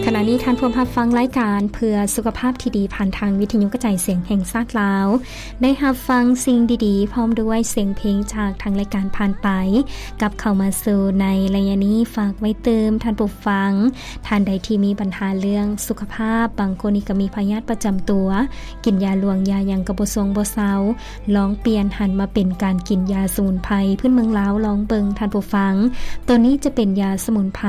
ຂະນະນີ້ທ່ານພວມຮັບຟັງລາຍການເພື່ອສຸຂະພາບທີ່ດີ ຜ່ານທາງວິທະຍຸກະຈາຍສຽງແຫ່ງຊາດລາວ. ໄດ້ຮັບຟັງສິ່ງດີໆ ພ້ອມດ້ວຍສຽງເພງຈາກທາງລາຍການຜ່ານໄປ. ກັບເຂົ້າມາສູ່ໃນໄລຍະນີ້ ຝາກໄວ້ຕື່ມທ່ານຜູ້ຟັງ ທ່ານໃດທີ່ມີບັນຫາເລື່ອງສຸຂະພາບ, ບາງຄົນນີ້ກໍມີພະຍາດປະຈຳຕົວ, ກິນຢາຫຼວງຢາຫຍັງກໍບໍ່ຊົງບໍ່ເຊົາ, ລອງປ່ຽນຫັນມາເປັນການກິນຢາສະໝຸນໄພພື້ນເມືອງລາວລອງເບິ່ງທ່ານຜູ້ຟັງ. ໂຕນີ້ຈະເປັນຢາສະໝຸນໄພ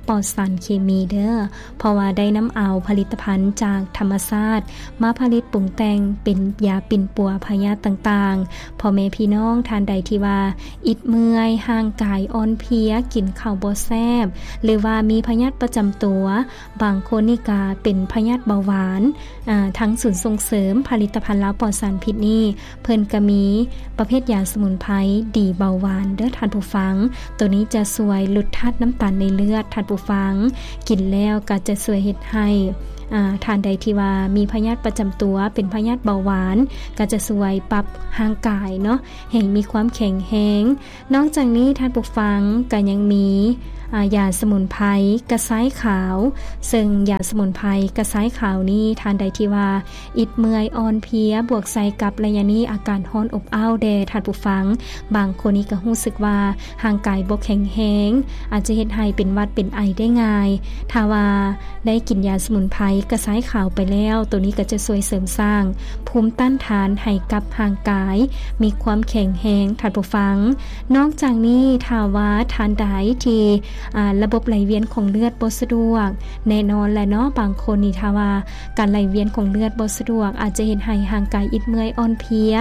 ປອດສານເຄມີເດີ້. ເພາະວ່າໄດ້ນຳເອົາຜະລິດຕະພັນຈາກທຳມະຊາດມາຜະລິດປຸງແຕ່ງເປັນຢາປິ່ນປົວພະຍາດຕ່າງໆ. ພໍ່ແມ່ພີ່ນ້ອງທ່ານໃດທີ່ວ່າອິດເມື່ອຍ, ຮ່າງກາຍອ່ອນເພຍ, ກິນເຂົ້າບໍ່ແຊບ ຫຼືວ່າມີພະຍາດປະຈຳຕົວ, ບາງຄົນນີ້ກະເປັນພະຍາດເບົາຫວານ, ອາ, ທາງສູນສົ່ງເສີມຜະລິດຕະພັນລາວປອດສານພິດນີ້ ເພິ່ນກະມີປະເພດຢາສະໝຸນໄພດີເບົາຫວານເດີ້ທ່ານຜູ້ຟັງ. ໂຕນີ້ຈະຊ່ວຍຫຼຸດທາດນ້ຳຕານໃນເລືອດທ່ານຜູ້ຟັງ, ກິນແລ້ວກະຈະຊ່ວຍເຮັດໃຫ້ ອາ ທ່ານໃດທີ່ວ່າມີພະຍາດປະຈຳຕົວ ເປັນພະຍາດເບົາຫວານ ກະຈະຊ່ວຍປັບຮ່າງກາຍເນາະ ໃຫ້ມີຄວາມແຂງແຮງ. ນອກຈາກນີ້ທ່ານຜູ້ຟັງກະຍັງມີ ອາ ຢາສະໝຸນໄພກະຊາຍຂາວ, ເຊິ່ງຢາສະໝຸນໄພກະຊາຍຂາວນີ້ ທ່ານໃດທີ່ວ່າ ອິດເມື່ອຍອ່ອນເພຍ ບວກໃສ່ກັບໄລຍະນີ້ອາກາດຮ້ອນອົບອ້າວແດ່ທ່ານຜູ້ຟັງ, ບາງຄົນນີ້ກໍຮູ້ສຶກວ່າຮ່າງກາຍບໍ່ແຂງແຮງ, ອາດຈະເຮັດໃຫ້ເປັນຫວັດເປັນໄອໄດ້ງ່າຍ. ຖ້າວ່າໄດ້ກິນຢາສະໝຸນໄພກະຊາຍຂາວໄປແລ້ວ, ໂຕນີ້ກໍຈະຊ່ວຍເສີມສ້າງພູມຕ້ານທານໃຫ້ກັບຮ່າງກາຍ ມີຄວາມແຂງແຮງທ່ານຜູ້ຟັງ. ນອກຈາກນີ້ ຖ້າວ່າທ່ານໃດທີ່ ອາ ລະບົບໄຫຼວຽນຂອງເລືອດບໍ່ສະດວກ, ແນ່ນອນແຫຼະເນາະ, ບາງຄົນນີ້ຖ້າວ່າ ການໄຫຼວຽນຂອງເລືອດບໍ່ສະດວກ ອາດຈະເຮັດໃຫ້ຮ່າງກາຍອິດເມື່ອຍອ່ອນເພຍ,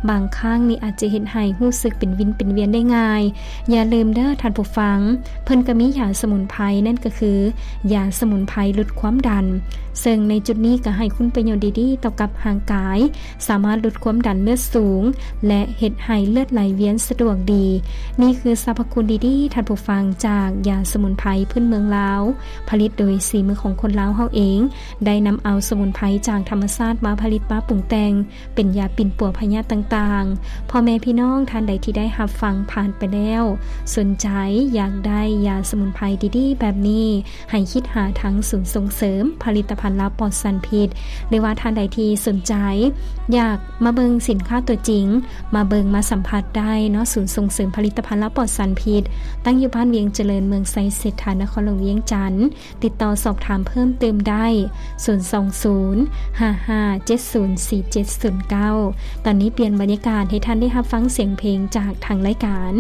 ບາງຄັ້ງນີ້ອາດຈະເຮັດໃຫ້ຮູ້ສຶກເປັນວິນເປັນວຽນໄດ້ງ່າຍ. ຢ່າລືມເດີ້ທ່ານຜູ້ຟັງ, ເພິ່ນກໍມີຢາສະໝຸນໄພ, ນັ້ນກໍຄືຢາສະໝຸນໄພຫຼຸດຄວາມດັນ, ເຊິ່ງໃນຈຸດນີ້ກໍໃຫ້ຄຸນປະໂຫຍດດີໆຕໍ່ກັບຮ່າງກາຍ, ສາມາດຫຼຸດຄວາມດັນເລືອດສູງ ແລະ ເຮັດໃຫ້ເລືອດໄຫຼວຽນສະດວກດີ. ນີ້ຄືສັບພະຄຸນດີໆ ທ່ານຜູ້ຟັງ, ຈາກຢາສະໝຸນໄພພື້ນເມືອງລາວ, ຜະລິດໂດຍສີມືຂອງຄົນລາວເຮົາເອງ, ໄດ້ນຳເອົາສະໝຸນໄພຈາກທຳມະຊາດມາຜະລິດ ມາປຸງແຕ່ງເປັນຢາປິ່ນປົວພະຍາດຕ່າງໆ. ພໍ່ແມ່ພີ່ນ້ອງທ່ານໃດທີ່ໄດ້ຮັບຟັງຜ່ານໄປແລ້ວ, ສົນໃຈຢາກໄດ້ຢາສະໝຸນໄພດີໆແບບນີ້, ໃຫ້ຄິດຫາທາງສູນສົ່ງເສີມຜະລິດຕະພັນລາວປອດສານພິດ, ຫຼືວ່າທ່ານໃດທີ່ສົນໃຈຢາກມາເບິ່ງສິນຄ້າຕົວຈິງ, ມາເບິ່ງມາສຳຜັດໄດ້ເນາະ, ສູນສົ່ງເສີມຜະລິດຕະພັນລາວປອດສານພິດ, ຕັ້ງຢູ່ບ້ານວຽງຈະເລີນ, ເມືອງໄຊເສດຖາ, ນະຄອນຫຼວງວຽງຈັນ. ຕິດຕໍ່ສອບຖາມເພີ່ມເຕີມໄດ້ ສູນສອງສູນ ຫ້າຫ້າເຈັດສູນ ສີ່ເຈັດສູນເກົ້າ. ຕອນນີ້ປ່ຽນບັນຍາກາດໃຫ້ທ່ານໄດ້ຮັບຟັງສຽງເພງຈາກທາງລາຍການ.